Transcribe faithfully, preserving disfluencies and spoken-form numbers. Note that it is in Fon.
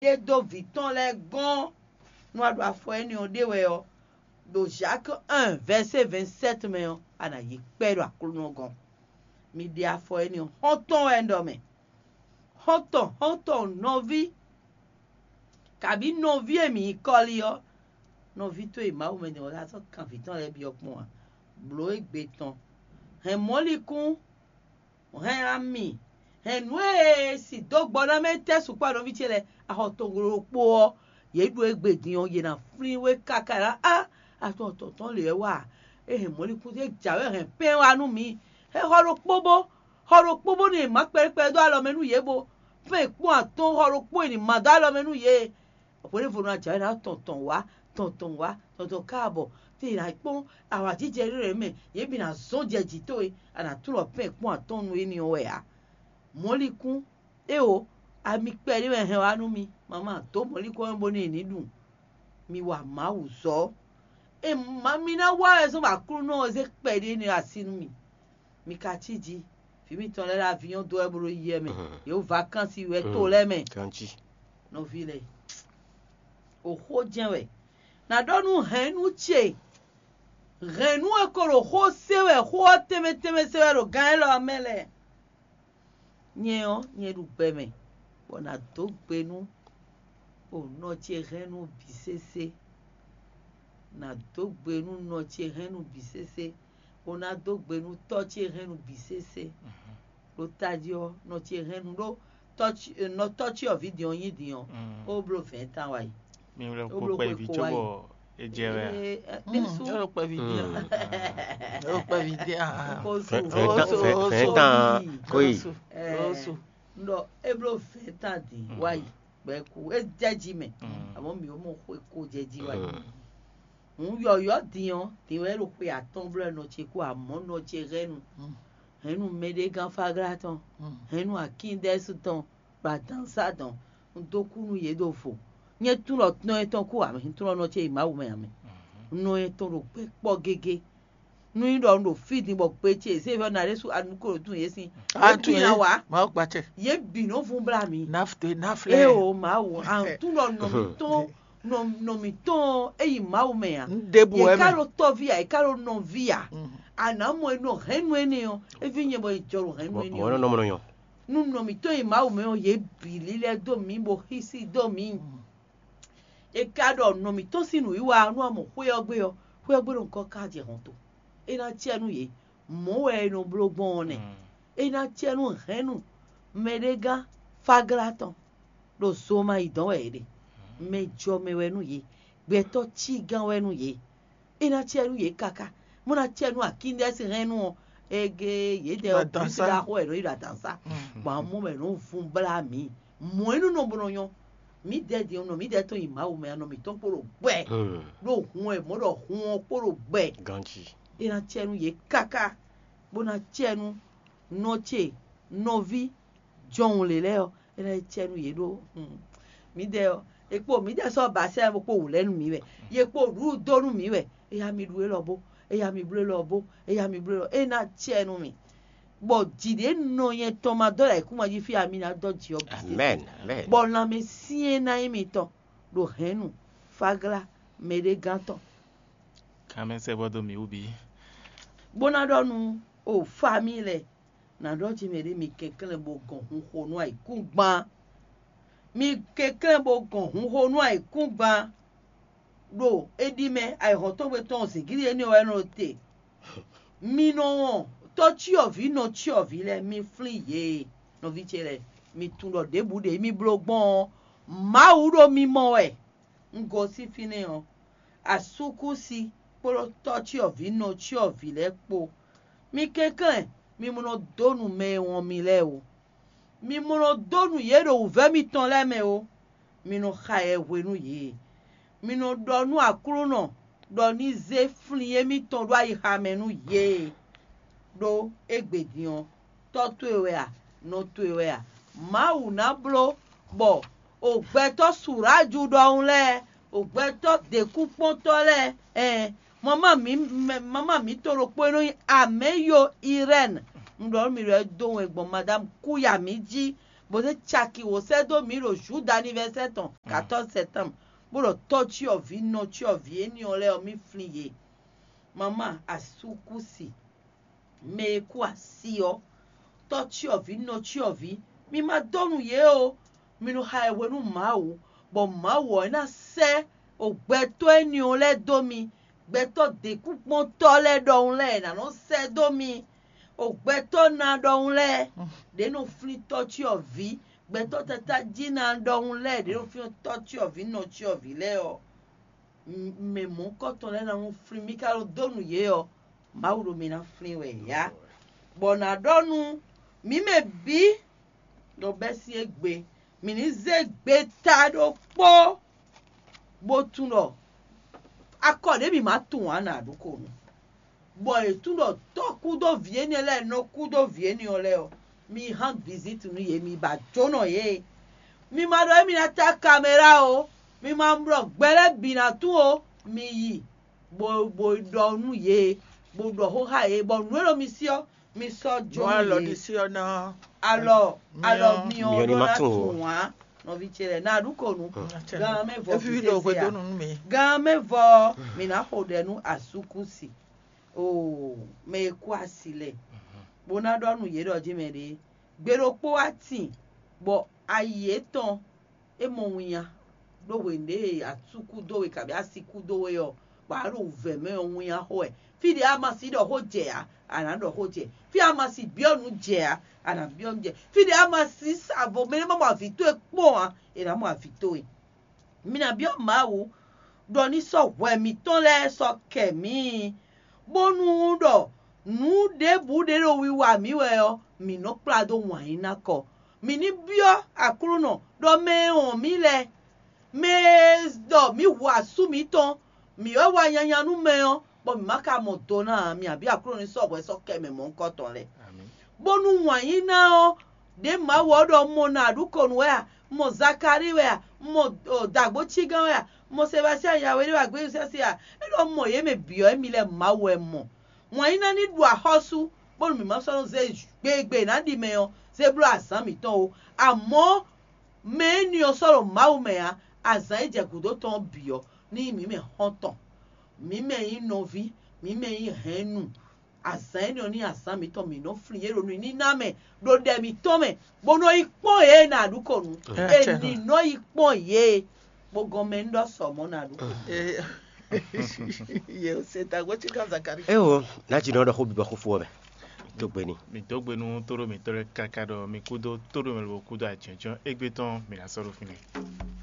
ɖe dó vǐ tɔn lɛ́ɛ gɔ́n nú a ɖo afɔ énɛ́ ɔ́ ɖe wɛ ɔ́, ɖo Jacques un verset vingt-sept mɛ ɔ́, a nǎ yi kpɛ́ ɖo Aklúnɔ gɔ́n. Mi ɖe afɔ énɛ́ ɔ́, xɔ́ntɔn wɛ un ɖɔ mɛ. Xɔ́ntɔn, xɔ́ntɔn nɔví, kabǐ nɔví e mǐ nyí kɔ́li ɔ́, nɔví towe Mawu mɛ din ɔ́, a sɔ́ kan vǐ tɔn lɛ́ɛ byɔ́ kpɔ́n ǎ. Blǒ égbé tɔn. Hɛn mɔ̌likún, hɛn ami, hɛn nǔ e si dó gbɔ ná mɛ tɛ́ sukpɔ́ nɔví ce lɛ́ɛ, a xɔ tɔn ɖokpó ɔ́, yě ɖu égbé din ɔ́, yě ná flín we káká ná á, atɔn tɔn tɔn lě wɛ wá. É hɛn mɔ̌likún ce jǎwe hɛn pɛ́n wá nú mǐ. É xɔ ɖokpó bó, xɔ ɖokpó bónú è mǎ kpɛɖékpɛɖé dó alɔ mɛ nú yě bó, fɛ́n è kpɔ́n atɔ́ɔ́n xɔ ɖokpó è nǐ má dó alɔ mɛ nú yě. Hweɖěvo ná jǎwe ná tɔn tɔn wá, tɔn tɔn wá, tɔn tɔn ká bɔ tɛ è nǎ kpɔ́n awǎjijɛ ɖé lɛ́ɛ mɛ, yě bǐ ná zɔ́n jɛ jǐ towe, a nǎ tlɔ fɛ́n è kpɔ́n atɔ́ɔ́n nú éní ɔ́ wɛ ǎ. Mɔ̌likún, éeǒ, ami kpɛɖé wɛ hɛn wá nú mi, mamá dǒ mɔ̌likún ɔ́ bónú è nǐ ɖu. Mi wa Mawu zɔ́. E ma mi ná wa wɛ zɔ́n bɔ Aklúnɔ ɔ́ zé kpɛɖé énɛ́ ɔ́ así nú mi. Mi ka cí jí, vǐ mitɔn lɛ́ɛ ɖo avinyɔ́ dó wɛ bó ɖo yi wɛ mɛ, yě ɖo vakánsi wɛ to lɛ́ɛ mɛ. Ganjí. Nɔví lɛ́ɛ, o xó jɛ́n wɛ. Nǎ ɖɔ nú hɛ̌nnu ce, hɛ̌nnu e ko ɖo xó se wɛ, xó ɔ́ tɛnmɛ tɛnmɛ se wɛ ɖo gán élɔ́ ɔ́ mɛ lɛ́ɛ. Nyɛ ɔ́, nyɛ ɖu gbɛ mɛ, bɔ nǎ dó gbe nú o nɔ ce hɛ́nnu bǐ sésé. Nǎ dó gbe nú nɔ ce hɛ́nnu bǐ sésé, bó ná dó gbe nú tɔ́ ce hɛ́nnu bǐ sésé. Ɖo tají ɔ́, nɔ ce hɛ́nnu ɖó tɔ́ ce, nɔ tɔ́ ce ɔ́ ví din ɔ́ nyí din ɔ́, ó bló vɛ̌ɛn tán wá yi. Mi wlɛ Ó kpo bló kpɛví xwe kó wá cóbɔ yi. É jɛ wɛ a? Ee, ɛ, ɖésú. Ɛ ɖo kpɛví dín a? Ɛ ɖo kpɛví dín a? Kó Fɛn- so, fɛn- kó so, fɛn- kó so, fɛn- tán. Kó yi. Kó so. Ɛ, Kó so. N ɖɔ é bló vɛ̌ɛn tán din wá yi. Gbɛku é jɛ jí mɛ, àmọ́ mǐ ó mɔ xwe kó jɛ jí wá yi. Hǔn yɔ̌yɔ́ din ɔ́, din wɛ é ɖo xwe atɔ́ɔ́n blɔ́ nɔ ce kú amɔ̌ nɔ ce hɛ́nnu. Hɛ̌nnu mɛɖégán Fáglá tɔn, hɛ̌nnu Akíndɛ́ɛ́sú tɔn, ɖo adǎnsá dɔn, un dó kú nú yě ɖo vo. Nyɛ tunwun ɖɔ nɔ etɔn kú ǎ mɛ, un tunwun ɖɔ nɔ ce yi Mawu mɛ ǎ mɛ. Nɔ etɔn ɖo gbɛ kpɔ́ gégé. Nú nyí ɖɔ un ɖo fí din bɔ gbe ce zé vɛ́ ná ɖésú anu ko ɖo tún yě sín. Yě bǐ ná wá. Mawu gbacɛ. Yě bǐ nɔ vún blá mi. Nafte naflɛ. Ée o Mawu, a tún ɖɔ nɔ mǐtɔn nɔ nɔ mǐtɔn e yi Mawu mɛ a. N ɖěbǔ Yě wɛ ká mɛ. Ɖo tɔ́ví a, yě ká ɖo nɔví a. A nǎ mɔ e nɔ hɛ̌nnu énɛ́ ɔ́, é ví nyɛ bɔ è jɔ ɖo hɛ̌nnu Mɔ énɛ́ mɔ ɔ́ nɔ mɛ. Nɔ mɔ nɔ nyɔ. Nú nɔ mǐtɔn e yi Mawu mɛ ɔ́, yě bǐ lílɛ́ dó mǐ bo xísí dó mǐ. È ka ɖɔ nɔ mǐtɔn sín nǔwiwa ɔ́, nú a mɔ xwé ɔ́ gbe ɔ́, xwé ɔ́ gbe ɖo nukɔn ká jɛ hɔn to. É ná cɛ nú yě. Mɔ̌ wɛ è nɔ bló gbɔn ɔ́ nɛ́. É ná cɛ nú hɛ̌nnu mɛɖégán Fáglá tɔn ɖo zo ma yi dɔ̌n wɛ è ɖe. Mɛ jɔ mɛ wɛ nú yě, gbɛtɔ́ cí gán wɛ nú yě. É ná cɛ nú yě káká, bó ná cɛ nú Akíndɛ́si hɛ́nnu ɔ́, ege yědɛɛ ɔ́ Adǎnsá. Bísí ɖaxó wɛ nɔ yi ɖo adǎnsá. Gbɔn amɔ mɛ nɔ vun blá mǐ. Mɔ̌ é nú nɔ bó nɔ nyɔ́. Mǐdɛɛ din ɔ́ nɔ mǐdɛɛ tɔn nyi Mawu mɛ, anɔ mǐtɔn kpó ɖo gbɛ. Ɖó hun wɛ mɔ̌ ɖɔ hun ɔ́ kpó ɖo gbɛ. Ganjí. É ná cɛ nú yě káká, bó ná cɛ nú nɔ ce, nɔví, jɔhun lě lɛ́ɛ ɔ́, é ná yi cɛ nú yě ɖó. Mǐdɛɛ ɔ́, è kpo mǐdɛɛ sɔ́ ba sɛ́ bó kpo wǔ lɛ́ nú mǐ wɛ. Yě kpo ɖǔɖú dó nú mǐ wɛ. Éya mi ɖu élɔ́ bó, éya mi bló élɔ́ bó, éya mi bló élɔ́. É ná cɛ nú mì. Bɔ jǐ ɖě nɔ nyɛ tɔn ma dɔ́ ɖo ayǐkúngban jí fí a mi ná dɔ́ jǐ ɔ́ bǐ. Amɛn. Amɛn. Bɔ lanmɛ syɛ́n ná nyí mitɔn ɖo hɛ̌nnu, fáglá, mɛɖégán tɔn. Kanmɛ sɛ́ bɔ dó mǐ wú bǐ. Bó ná ɖɔ nú o famíi lɛ́ɛ, nǎ ɖɔ jí mɛ ɖé mi kɛnklɛ́n bó gɔn hun xo nú ayǐkúngban. Mi kɛnklɛ́n bó gɔn hun xo nú ayǐkúngban. Ɖo é ɖi mɛ ayǐhɔ́ntɔ́gbe tɔn zǐngídi énɛ́ wɛ nɔ te. Mi nɔ wɔn tɔ́cyɔvǐ nɔcyɔvǐ lɛ́ɛ, mi flín yě. Nɔví ce lɛ́ɛ, mi tunwun ɖɔ ɖěbǔ ɖě mi bló gbɔn ɔ́, Mawu ɖo mi mɔ wɛ. Un gosín fínɛ́ ɔ́, asúkúsi kpódó tɔ́cyɔvǐ nɔcyɔvǐ lɛ́ɛ kpó. Mi kɛnklɛ́n, mi mɔ nɔ dó nu mɛ e wɔn mi lɛ́ɛ ó. Mi mɔ nɔ dó nu yě ɖo wǔvɛ́ mitɔn lɛ́ɛ mɛ ó. Mi nɔ xa yɛ hwenu yě. Mi nɔ ɖɔ nú Aklúnɔ ɖɔ ní zé flín émítɔn ɖó ayixa mɛ nú yě. Ɖó égbé din ɔ́, tɔ́ towe wɛ a, nɔ towe wɛ a? Mawu ná bló bɔ o gbɛtɔ́ Suráju ɖɔhun lɛ́ɛ, o gbɛtɔ́ děkúnkpɔ́ntɔ́ lɛ́ɛ, ɛn mama mǐ mama mǐtɔn ɖokpó e nɔ nyí Amɛ́yo Irɛ́ni, un ɖɔ nú mi ɖɔ é dó wɛn gbɔn Madámu Kúya mǐ jí, bó zé caki wǒ sɛ́ dó mǐ ɖo Juda anivɛsɛ́ tɔn quatorze septembre, bó ɖɔ tɔ́cyɔvǐ nɔcyɔvǐ énɛ́ ɔ́ lɛ́ɛ ɔ́, mì flín yě. Mamá asúkúsi, mɛ e kú así ɔ́, tɔ́cyɔvǐ nɔcyɔvǐ, mi ma dó nú yě ó. Mi nɔ xa ɛ hwenu Mawu, bɔ Mawu ɔ́ ná sɛ́ o gbɛtɔ́ énɛ́ ɔ́ lɛ́ɛ dó mi. Gbɛtɔ́ děkúkpɔ́ntɔ́ lɛ́ɛ ɖɔhun lɛ́ɛ è nǎ nɔ sɛ́ dó mi. O gbɛtɔ́ ná ɖɔhun lɛ́ɛ, ɖě nɔ flín tɔ́cyɔvǐ, gbɛtɔ́ tátájí ná ɖɔhun lɛ́ɛ, ɖě nɔ flín tɔ́cyɔvǐ nɔcyɔvǐ lɛ́ɛ ɔ́, mɛ mɔ̌hunkɔtɔn lɛ́ɛ ná nɔ flín. Mi ka ɖo dó nú yě ɔ́, Mawu ɖo mi ná flín wɛ yá. Bɔ nǎ ɖɔ nú mǐ mɛ bǐ ɖɔ bɛ́ sín égbé, mǐ ní zé gbeta ɖokpó bó tunwun ɖɔ akɔ ɖě mǐ ma tunwun ǎ nǎ ɖu ko nu. Bɔ è tunwun ɖɔ tɔ́ kúdó vǐ énɛ́ lɛ́ɛ nɔ kúdó vǐ énɛ́ ɔ́ lɛ́ɛ ɔ́, mi hán viziti nú yě, mi ba jónɔ yě. Mi ma ɖɔ émí ná tá kamera ó, mi ma ɖɔ gbɛ lɛ́ɛ bǐ ná tún ó, mi yi bó bó ɖɔ nú yě, bó ɖɔ xó xá yě, bɔ nǔ e ɖo mi sí ɔ́, mi sɔ́ jó nú yě. Alɔ alɔ mi ɔ́ ɖó ná tunwun ǎ. Nɔví ce lɛ́ɛ, ná ɖu ko nu. Gan mɛ vɔ efi ɖo hwedonu nú mi. Gan mɛ vɔ mi ná xo ɖɛ nú asúkúsi. Oo, mɛ e kú asi lɛ, bó ná ɖɔ nú yě ɖɔ jí mɛ ɖě, gbe ɖokpó wá tin, bɔ ayi yětɔn é mɔ winnya ɖó hwenu ɖě e asú kú dó we kabǐ asi kú dó we ɔ́, bɔ a ɖo wǔvɛ́ mɛ ɔ́, winnya xo wɛ. Fí ɖě a ma si ɖɔ xó jɛ ǎ, a nǎ ɖɔ xó jɛ. Fí a ma si byɔ́ nǔ jɛ ǎ, a nǎ byɔ́ nǔ jɛ. Fí ɖě a ma si sa vo mɛ e ma mɔ avǐ towe kpɔ́n ǎ, è nǎ mɔ avǐ towe. Mi ná byɔ́ Mawu ɖɔ ní sɔ́ hwɛ mǐtɔn lɛ́ɛ sɔ́ kɛ mǐ, bónú ɖɔ nǔ ɖěbǔ ɖě ɖo wiwa mǐ wɛ ɔ́, mǐ nɔ kplá dó wǎn yí ná kɔ. Mǐ ní byɔ́ Aklúnɔ ɖɔ mɛ e wɔn mǐ lɛ́ɛ, mɛ e ɖɔ mǐ hu asú mǐtɔn, mǐ wɛ wa nyanya nú mɛ ɔ́, bɔ mǐ ma ka mɔ do ná ǎ, mǐ abǐ Aklúnɔ ní sɔ́ hwɛ sɔ́ kɛ mɛ mɔ̌hunkɔtɔn lɛ́ɛ. Bónú wǎn yí ná ɔ́, ɖě Mawu ɔ́ ɖɔ un mɔ Naɖukonu wɛ a? Un mɔ Zakalíi wɛ a? Un mɔ Dǎgbócígán wɛ a? Un mɔ Sebastian Yawe ɖé wɛ a? Gbéyúsɛ́sɛ́ a? É ɖɔ un mɔ yě mɛ bǐ ɔ́, émí lɛ́ɛ Mawu wɛ un mɔ. Wǎn yí ná ní ɖu axɔ́sú, bónú mǐ ma sɔ́ nɔ́ zé gbe e è nǎ ɖi mɛ ɔ́, zé bló azǎn mǐtɔn ó. Amɔ̌, mɛ énɛ́ ɔ́ sɔ́ ɖo Mawu mɛ ǎ, azǎn e jɛ gǔdo tɔn ɔ́ bǐ ɔ́, ní nyí mǐ mɛ xɔ́ntɔn, mǐ mɛ nyí nɔví, mǐ mɛ nyí hɛ̌nnu. Azǎn énɛ́ ɔ́ ní azǎn mǐtɔn mǐ nɔ flín yě ɖo nǔníná mɛ, ɖo ɖɛ mǐtɔn mɛ, bó nɔ yi kpɔ́n yě e nǎ ɖu kɔ nǔ. È ní nɔ yi kpɔ́n yě, bó gɔn mɛ ní ɖɔ sɔ mɔ̌ nǎ ɖu kɔ nǔ. Yě se dagbo tí kan Zakari. Ewo, n'a dzi nɔ ɖɔ xó bibɔ xó fó ɔmɛ. Tó gbe ni. Mi dó gbe nú tóɖó mǐtɔn lɛ́ɛ káká ɖɔ mi kúdó tóɖó mɛ lobo kúdó ajɔ̌njɔ́n égbé tɔn mi ná sɔ́ ɖo fínɛ́.